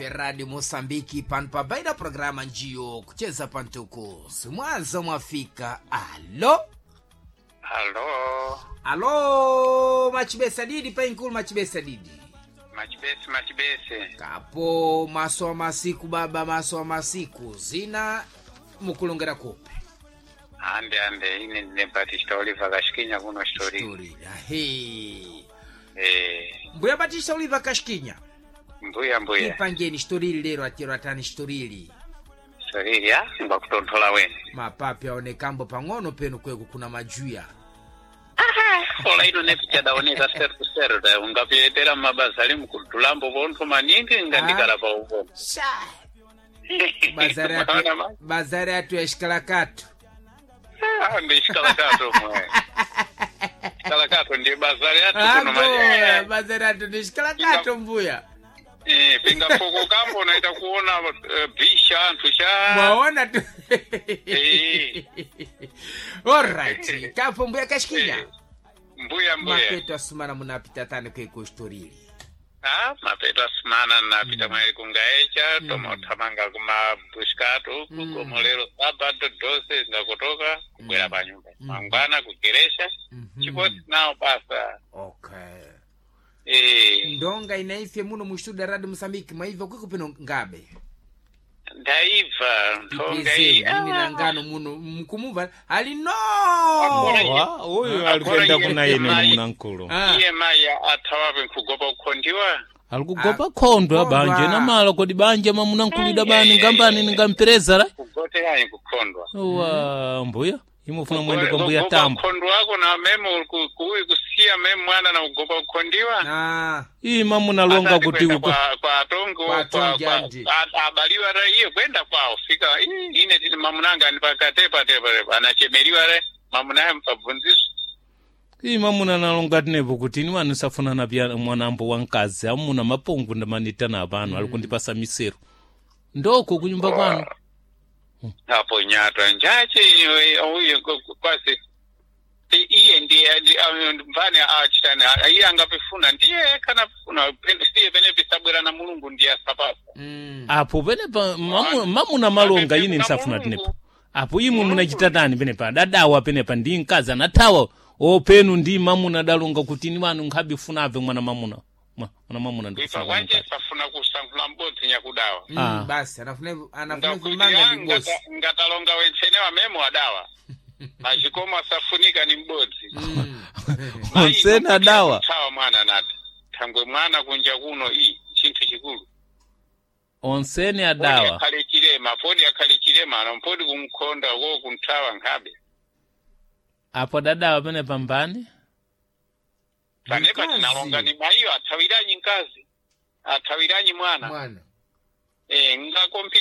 Ife Radio Mosambiki pano pabaida programa njiyo kucheza pantuku simwaza mwafika. Alo. Alo. Alo, machibesa didi painkulu, machibesa didi. Machibesi, machibesi. Kapo maso wa masiku baba, maso wa masiku zina mukulongera kupe. Ande ande, ine ndine Batista Oliver Kashikinya kuno Shitoriro. Story ahe. Eh, Mbuya Batista Oliver Kashikinya. Mbuya mbuya. Ipangeni shitorili lero atero atani shitorili. Shitoriro ya ngwakutonthola wene. Mapapi aonekambo pang'ono penu kweku kuna majuya. Ola ino nepichadaoneka seru seru da ungapiyetera mumabazali mukudulambo vonthu maningi ngandikala pa uvono. Sha. Bazari atu, Maona ma? bazari atu ya shikalakatu. Ah, ndi shikalakato mwe. Shikalakato ndi bazari atu kuno Ago, manje. bazari atu ni shikalakato mbuya. Eh, pinga poko kambo naita kuona bisha anthu cha. Mwaona tu. Eh. Alright. Kapo mbuya Kashikinya. Eh, Mbuya mbuya. Mapeto asumana munapita tani kweku shitorili. Ah, mapeto asimana napita mwairi kungaecha tomothamanga kumabushikatu kugomolero sabato dose ngakutoka kubwera panyumba mangwana kugeresha chiposi nawo basa. Okay. Eh, Ndonga inaife muno mu studio Radio Mosambiki mwaivyo kwiko pino ngabe. ndaibva nthonga iyi. Ipizeni ini nangano muno mkumuva ali no. Akora Wa, uyu Akora alikuenda iye kuna yene mai. munankulu. Ah. Iye mayi athawape nkugopa kukhondiwa. Alikugopa khondwa Khondwa. banje namala kodi banje mamunankulida bani ngambani ningampereza la. Kugoteranyi kukhondwa. Wa mbuya imufuna mwende kwa mbuya Kugopa tambo. kukhondwa wako na meme kuwi kusiya meme mwana na kugopa kukhondiwa. Ah. Iyi mamunalonga Asati kuti kwenda uko. kwa atongo Kwa atongi andi. abaliwa ra iye kwenda kwawo fika ine tini mamunanga ani pakatepa tepa tepa anachemeriwa re mamunaye mpabvunziso. Iyi mamuna nalonga tinepo kuti ini wanu safuna na pya mwanambo wa mkazi amuna mapungu ndamanitana pano alikundipasa misero. Ndoko kunyumba kwanu. Apo nyatwa njache uye kwasi iye ndiye mvani achitani iye angapifuna ndiye kana pifuna siye pene pisabwera na Mulungu ndiye asapasa. Apo penepa mamuna malonga ine nsafuna tinepo. Apo imwe munachita tani penepa dadawa penepa ndi mkazi anathawa openu ndi mamuna dalonga kuti ini wanu nkhabe funave mwana mamuna. Mwana mamuna Ipa ndikufuna kwanje mkazi. safuna kusankhula m'bodzi nyakudawa. Ah. Basi anafuna anafuna Ndakuti kumanga ndi bosi. ngatalonga wentsene wamemo adawa mazvikomo asafunika ni m'bodzi. Onsene adawa. Thawa mwana nati thangwe mwana kunja kuno i chinthu chikulu. Onsene Podi adawa. akhale chilema, podi akhale chilema ano podi kumkhonda wo kunthawa nkhabe. Apo dadawa penepa mbani? Panepa Mkazi. tinalonga ni mayiyo athawiranyi mkazi athawiranyi mwana. Mwana. Eh, ngakompiri.